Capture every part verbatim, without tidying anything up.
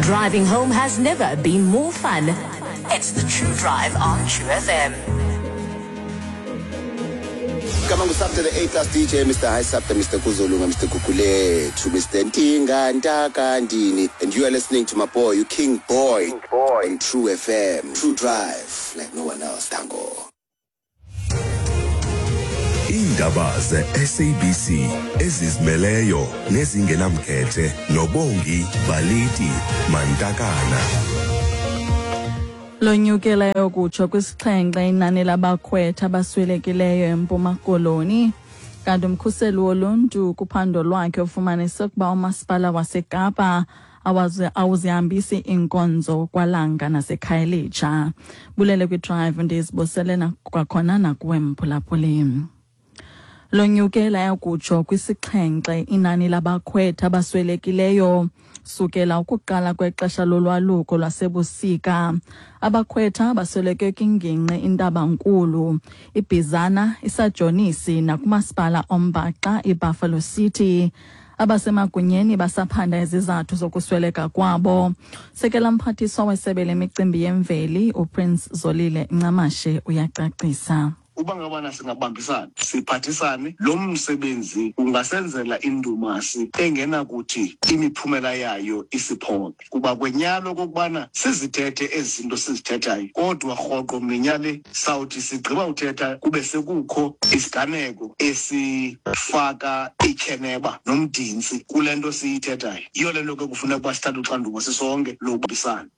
Driving home has never been more fun. It's the True Drive on True F M. Kama ngusabta, the A Class D J, Mister High Sabta, Mister Kuzolunga, Mister Kukulethu, Mister Ntinga Ntaka Ndini, and you are listening to my boy, you King Boy, King Boy on True F M. True Drive like no one else. Tango. Iindaba ze-S A B C ezizimeleyo nezingenamkhethe noBongi Baliti Mantakana. Lonyukeleyo kutsho kwisixhenxe inani labakhwetha abaswelekileyo eMpuma Koloni. Kanti umkhuseli woluntu kuphando lwakhe ufumanise ukuba umasipala waseKapa awuzihambisi iinkonzo kwaLanga naseKhayelitsha. Bulele kwiDrive, ndizibusele kwakhona nakuwe mphulaphuli. Lonyukela yakutsho kwisixhenxe inani labakhwetha abaswelekileyo sukela ukuqala kwexesha lolwaluko lwasebusika. Abakhwetha basweleke kwingingqi iNtabankulu, iBhizana, iSajonisi nakumasipala ombaxa iBuffalo City. Abasemagunyeni basaphanda izizathu zokusweleka kwabo. Sekela mphathiswa wesebe lemicimbi yemveli uPrince Zolile Ncamashe uyacacisa. Uba ngabana singabambisana, siphathisane, lo msebenzi ungasenzela indumasi engenakuthi imiphumela yayo isiphoxe, kuba kwenyalo okokubana sizithethe ezi zinto sizithethayo, kodwa rhoqo minya le sawuthi sigqiba uthetha kube sekukho isiganeko esifaka ityheneba nomdintsi kule nto siyithethayo. Yiyo le nto ke kufuneka uba sithathe uxanduva sisonke lokubambisana.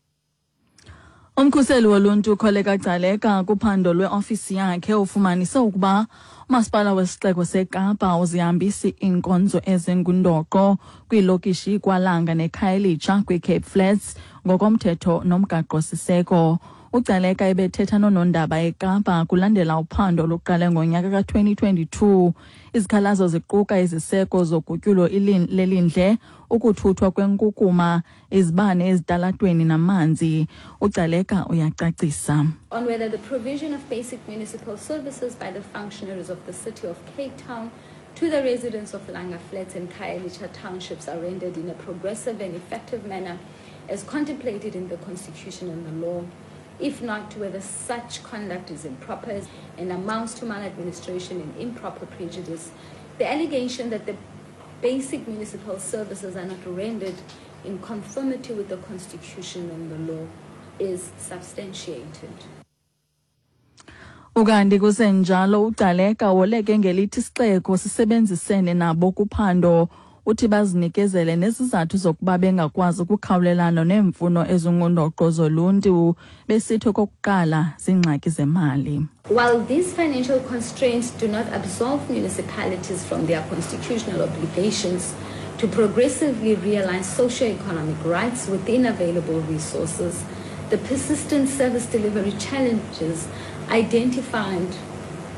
Umkhuseli woluntu uKholeka Gcaleka kuphando lweofisi yakhe ufumanise ukuba umasipala wesixeko seKapa awuzihambisi iinkonzo ezingundoqo kwiilokishi iKwaLanga neKhayelitsha kwiCape Flats ngokomthetho nomgaqo-siseko. UGcaleka ebethetha noonondaba eKapa kulandela uphando oluqale ngonyaka ka-twenty twenty-two. Izikhalazo ziquka iziseko zogutyulo lelindle, ukuthuthwa kwenkukuma, izibane ezitalatweni namanzi. UGcaleka uyacacisa. On whether the provision of basic municipal services by the functionaries of the City of Cape Town to the residents of Langa Flats and Khayelitsha townships are rendered in a progressive and effective manner as contemplated in the Constitution and the law. If not, whether such conduct is improper and amounts to maladministration and improper prejudice. The allegation that the basic municipal services are not rendered in conformity with the Constitution and the law is substantiated. Ukanti kusenjalo, uGcaleka woleke ngelithi isixeko sisebenzisene nabo kuphando. Uthi bazinikezele nezizathu zokuba bengakwazi ukukhawulelana neemfuno ezingundoqo zoluntu, besithi okokuqala ziingxaki zemali. While these financial constraints do not absolve municipalities from their constitutional obligations to progressively realize socio-economic rights within available resources, the persistent service delivery challenges identified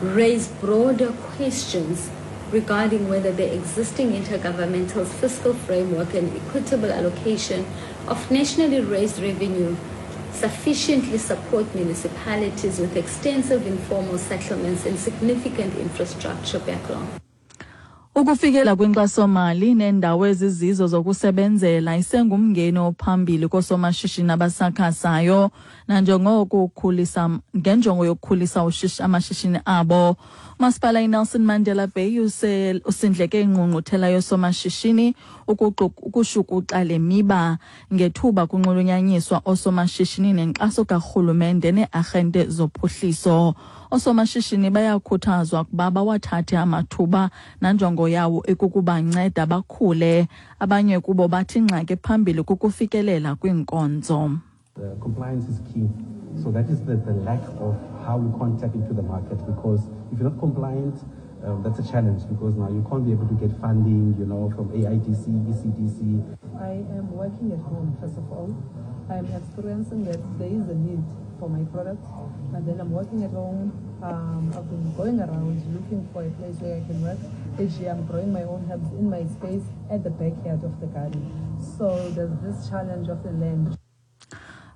raise broader questions regarding whether the existing intergovernmental fiscal framework and equitable allocation of nationally raised revenue sufficiently support municipalities with extensive informal settlements and significant infrastructure backlog. Ukufikela kwinkxasomali neendawo ezizizo zokusebenzela isengumngeni ophambili koosomashishini abasakhasayo nanjengoko ukhulisa ngenjongo yokukhulisa amashishini abo. Umasipala iNelson Mandela Bay usindleke ingqungquthela yoosomashishini ukushukuxa le miba ngethuba kunxulunyanyiswa oosomashishini nenkxaso karhulumente nee-arhente zophuhliso. Oosomashishini bayakhuthazwa ukuba bawathathe amathuba nanjongo yawo ikukubanceda bakhule. Abanye kubo bathi ingxaki ephambili kukufikelela kwiinkonzo. Uh, compliance is key. So that is the, the lack of how we can't tap into the market, because if you're not compliant, um, that's a challenge, because now you can't be able to get funding, you know, from A I D C, E C D C. I am working at home, first of all. I am experiencing that there is a need for my products, and then I'm working at home. Um, I've been going around looking for a place where I can work. Each year I'm growing my own herbs in my space at the backyard of the garden. So there's this challenge of the land.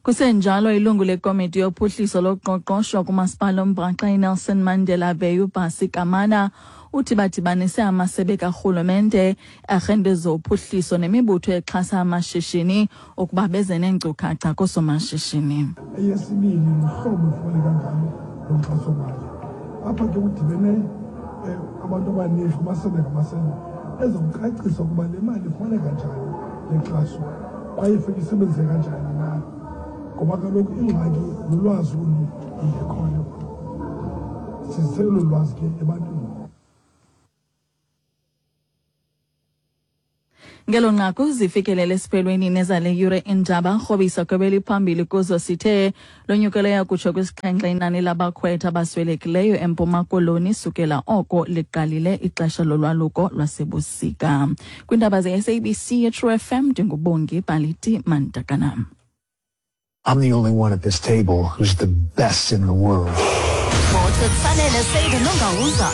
Kusenjalo, ilungu lekomiti yophuhliso loqoqosho kumasipala ombhaxa iNelson Mandela Bay uBhasi Kamana Uthi badibanise amasebe karhulumente, arhente zophuhliso nemibutho exhasa amashishini ukuba beze neenkcukacha koosomashishini. Eyesibini luhlobo efumaneka ngalo lo nkxasomali. Apha ke kudibene um abantu abaninzi kumasebe ngamasebe ezokucacisa ukuba le mali ifumaneka njani, le nkxaso, kwaye ifike isebenzise kanjani na, ngoba kaloku ingxaki lulwazi olu lungekhoyo. Sizise olu lwazi ke ebantwini. Ngelo nqaku zifikelele esiphelweni nezale yure iindaba. Rhobisa kwebeliphambili kuzo sithe lonyukeleyo kutsho kwisixhenxe inani labakhwetha abaswelekileyo eMpuma Koloni sukela oko liqalile ixesha lolwaluko lwasebusika. Kwiindaba ze-S A B C True F M, ndinguBongi Baliti Mantakana. I'm the only one at this table who's the best in the world. Sports with Sanele Seide Nongawuza.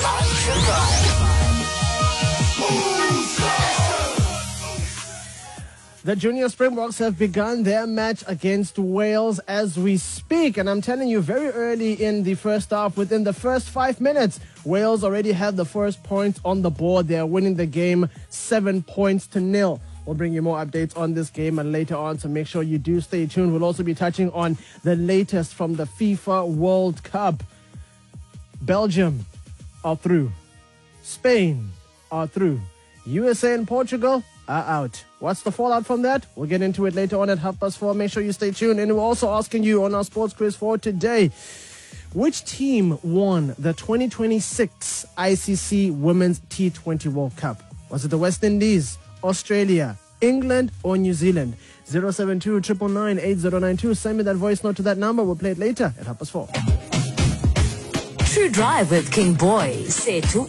The Junior Springboks have begun their match against Wales as we speak. And I'm telling you, very early in the first half, within the first five minutes, Wales already have the first point on the board. They are winning the game seven points to nil. We'll bring you more updates on this game and later on, so make sure you do stay tuned. We'll also be touching on the latest from the FIFA World Cup. Belgium are through. Spain are through. U S A and Portugal are out. What's the fallout from that? We'll get into it later on at half past four. Make sure you stay tuned. And we're also asking you on our sports quiz for today, which team won the twenty twenty-six I C C Women's T twenty World Cup? Was it the West Indies, Australia, England, or New Zealand? zero seven two, triple nine, eight zero nine two. Send me that voice note to that number. We'll play it later at half past four. True Drive with King Boy, Sethu.